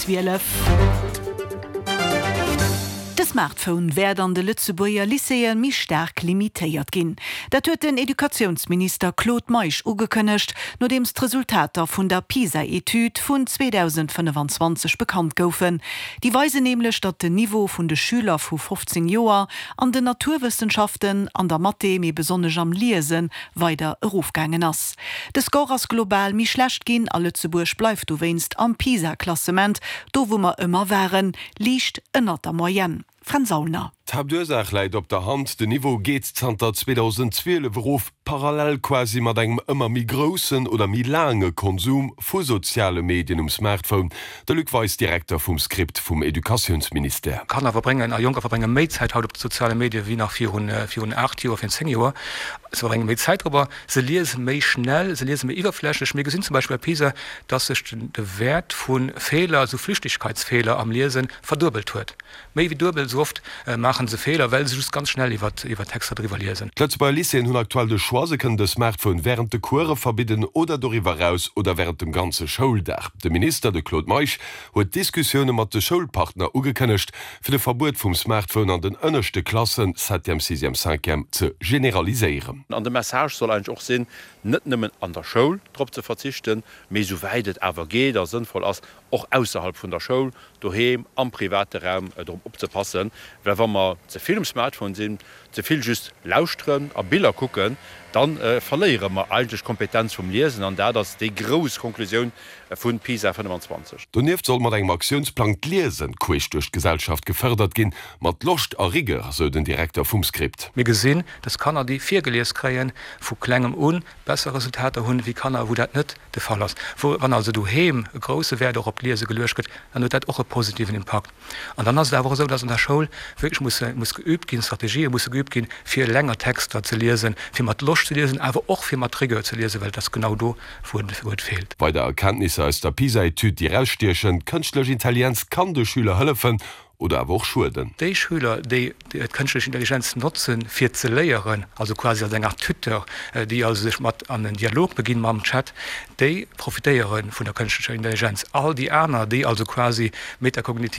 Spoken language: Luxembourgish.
12. De Smartphone wäert an de Lëtzebuerger Lycéeë méi staark limitéiert ginn. Dat huet den Educatiounsminister Claude Meisch ugekënnegt, nodeems d'Resultater vun der PISA-Etüd vun 2025 bekannt goufen. Déi weisen nämlech, datt den Niveau vun de Schüler vu 15 Joer an den Naturwëssenschaften, an der Mathé, mee besonnesch am Liesen, weider erofgaangen ass. De Score ass global méi schlecht ginn a Lëtzebuerg bleift dowéinst am PISA-Klassement do wou mer ëmmer waren, liicht ënnert der Moyenne. Fränz Aulner. D'Haaptursaach läit op der Hand, Den Niveau geet zanter 2012 erof, parallel quasi mat engem ëmmer méi groussen oder méi laange Konsum vu soziale Medien um Smartphone. De Luc Weis, Direkter vum Script vum Educatiounsministère. Kanner verbréngen a Jonker verbrénge méi Zäit haut op de soziale Medie wéi nach virun 8 Joer, virun 10 Joer. Se verbrénge méi Zäit dorobber, se liese méi schnell, se liese méi iwwerflächlech. Mir gesinn zum Beispill bei PISA, dass sech de Wäert vu Feeler, esou Flüchtigkeitsfeeler am Liesen, verduebelt huet. Méi wéi duebel esou oft maache se Feeler, well se just ganz schnell iwwer Texter driwwer liesen. D'Lëtzebuerger Lycéeën hunn aktuell de Choix, se kënnen de Smartphone wärend de Course verbidden oder doriwwer eraus oder wärend dem ganze Schouldag. De Minister, de Claude Meisch, huet Diskussioune mat de Schoulpartner ugekënnegt, fir de Verbuet vum Smartphone an den ënneschte Klassen, Septième, Sixième, Cinquième, ze generaliséieren. An de Message soll eigentlech och sinn, net nëmmen an der Schoul drop ze verzichten, mee esouwäit et awer geet a sënnvoll ass, och ausserhalb vun der Schoul, doheem, am private Raum drop opzepassen. Well wa mer ze vill um Smartphone sinn, ze vill just lauschteren a Biller kucken, da verléiere mer eigentlech d'Kompetenz vum Liesen. An dat ass déi grouss Konklusioun vu PISA 25. Donieft soll mat engem Aktiounsplang d'Liesen queesch duerch d'Gesellschaft gefërdert ginn, mat Loscht a Rigueur, sou den Direkter vum Script. Mir gesinn, dass Kanner, déi virgelies kréien, vu klengem un besser Resultater hunn, wéi Kanner, wou dat net de Fall ass. Wou, wann also doheem e grousse Wäert och op d'Liese geluecht gëtt, dann huet dat och e positiven Impakt. An dann ass et awer och esou, dass an der Schoul wierklech muss, muss geübt ginn, Strategië musse geübt ginn, fir länger Texter ze liesen, fir mat Loscht ze liesen, awer och fir mat Rigueur ze liesen, well et ass genau do, wou et, wou et feelt. Weider Erkenntnisser aus der PISA-Etüd, déi erausstiechen, D'kënschtlech Intelligenz kann de Schüler hëllefen oder awer och schueden. Déi Schüler, déi d'kënschtlech Intelligenz notzen, fir ze léieren, also quasi als eng Art Tuteur, déi also sech mat an en Dialog beginn mam Chat, déi profitéiere vun der kënschtlecher Intelligenz. All déi aner, déi also quasi metakognitiv.